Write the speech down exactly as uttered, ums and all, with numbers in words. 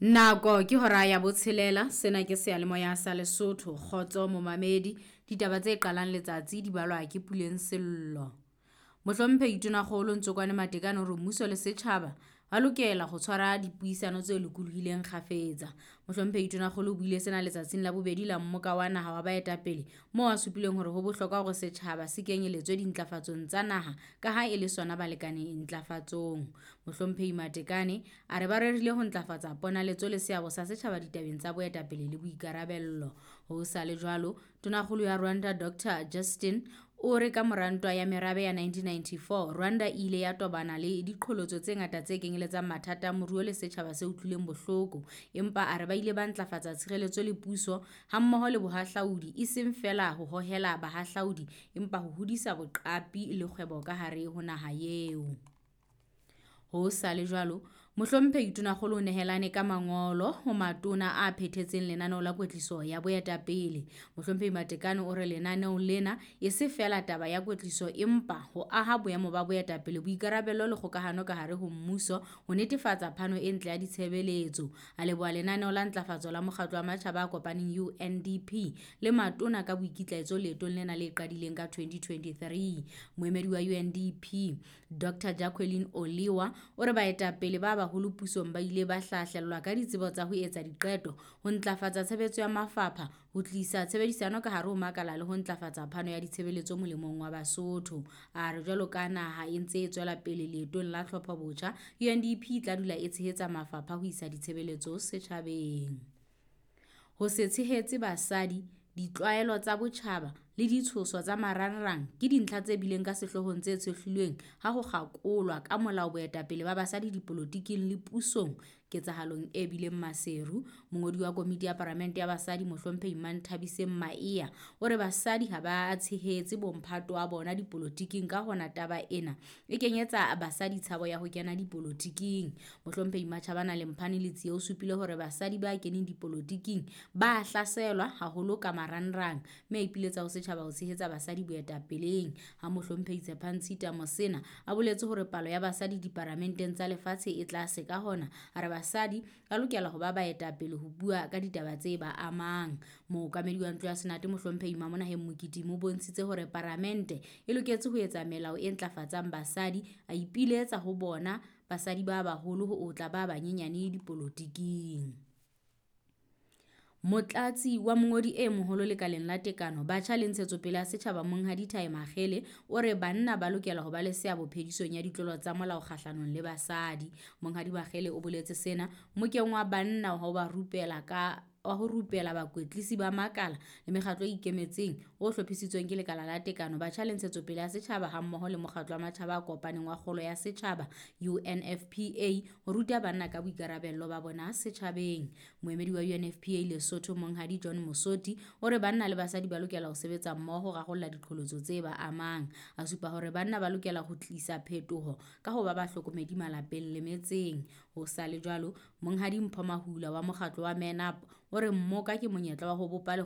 Nako ke hora ya botshelela, sena ke seyalemoya sa Lesotho. Kgotso momamedi, ditaba tse qalang letsatsi di balwa ke Puleng Sello. Mohlomphehi Tonakgolo Ntsokoane Matekane hore mmuso le setjhaba ba lokela ho tshwara dipuisano tse lokolohileng kgafetsa. Mohlomphehi Tonakgolo o buile sena letsatsing la bobedi la mmoka wa naha wa baetapele moo a supileng hore ho bohlokwa hore setjhaba se kenyeletswe dintlafatsong tsa naha ka ha e le sona balekane ntlafatsong. Mohlomphehi Matekane a re ba rerile ho ntlafatsa ponaletso le seabo sa setjhaba ditabeng tsa boetapele le boikarabello. Ho sa le jwalo, Tonakgolo ya Rwanda Doctor Justin o re ka mora ntwa ya merabe ya nineteen ninety-four, Rwanda e ile ya tobana le diqholotso tse ngata tse kenyeletsang mathata a moruo le setjhaba se utlwileng bohloko. Empa a re ba ile ba ntlafatsa tshireletso le puso hammoho le bohahlaudi, e seng feela ho hohela bahahlaudi empa ho hodisa boqapi le kgwebo ka hare ho naha eo. Ho sa le jwalo, Mohlomphehi Tonakgolo o nehelane ka mangolo ho matona a phethetseng lenaneo la kwetliso ya boetapele. Mohlomphehi Matekane o re lenaneo lena e se feela taba ya kwetliso empa ho aha boemo ba boetapele, boikarabello le kgokahano ka hare ho mmuso ho netefatsa phano e ntle ya ditshebeletso. A leboha lenaneo la ntlafatso la mokgatlo wa matjhaba a kopaneng U N D P le matona ka boikitlaetso leetong lena le qadileng ka twenty twenty-three. Moemedi wa U N D P Doctor Jacqueline Oliwa o re baetapele ba baholo pusong ba ile ba hlahlellwa ka ditsebo tsa ho etsa diqeto, ho ntlafatsa tshebetso ya mafapha, ho tlisa tshebedisano ka hare ho makala le ho ntlafatsa phano ya ditshebeletso molemong wa Basotho. A re jwalo ka naha e ntse e tswela pele leetong la tlhopho botjha, U N D P e tla dula e tshehetsa mafapha ho isa ditshebeletso setjhabeng. Ho se tshehetse basadi, ditlwaelo tsa botjhaba le ditshoso tsa marangrang ke dintlha tse bileng ka sehloohong tse tshohlilweng ha ho kgakolwa ka molao boetapele ba basadi dipolotiking le pusong ketsahalong e bileng Maseru. Mongodi wa komiti ya palamente ya basadi Mohlomphehi Manthabiseng Maea o re basadi ha ba tshehetse bomphato wa bona dipolotiking, ka hona taba ena e kenyetsa basadi tshabo ya ho kena dipolotiking. Mohlomphehi Matjhabana Lemphane Letsie o supile hore basadi ba keneng dipolotiking ba hlaselwa haholo ka marangrang mme a ipiletsa ho setjhaba ho tshehetsa basadi boetapeleng. Ha Mohlomphehi Tshepang Tshita Mosena a boletse hore palo ya basadi diparamenteng tsa lefatshe e tlase, ka hona a re basadi ba lokela ho ba baetapele ho bua ka ditaba tse ba amang. Mookamedi wa ntlo ya Senate Mohlomphehi Mamonaheng Mokitimi o bontshitse hore paramente e loketse ho etsa melao e ntlafatsang basadi, a ipiletsa ho bona basadi ba baholo ho otla ba banyenyane dipolotiking. Motlatsi wa mongodi e moholo lekaleng la tekano, batjha le ntshetsopele ya setjhaba Monghadi Thai Makgele o re banna ba lokela ho ba le seabo phedisong ya ditlolo tsa molao kgahlanong le basadi. Monghadi Makgele o boletse sena mokeng wa banna ho ba rupela ka wa ho rupela bakwetlisi ba makala le mekgatlo e ikemetseng o hlophisitsweng ke lekala la tekano, batjha le ntshetsopele ya setjhaba hammoho le mokgatlo wa matjhaba a kopaneng wa kgolo ya setjhaba U N F P A ho ruta banna ka boikarabello ba bona setjhabeng. Moemedi wa U N F P A Lesotho Monghadi John Mosoti o re banna le basadi ba lokela ho sebetsa mmoho ho rarolla diqholotso tse ba amang. A supa hore banna ba lokela ho tlisa phetoho ka ho ba bahlokomedi malapeng le metseng. Ho sa le jwalo, Monghadi Mpho Mahula wa mokgatlo wa Men Up o re mmoka ke monyetla wa ho bopa lekgotla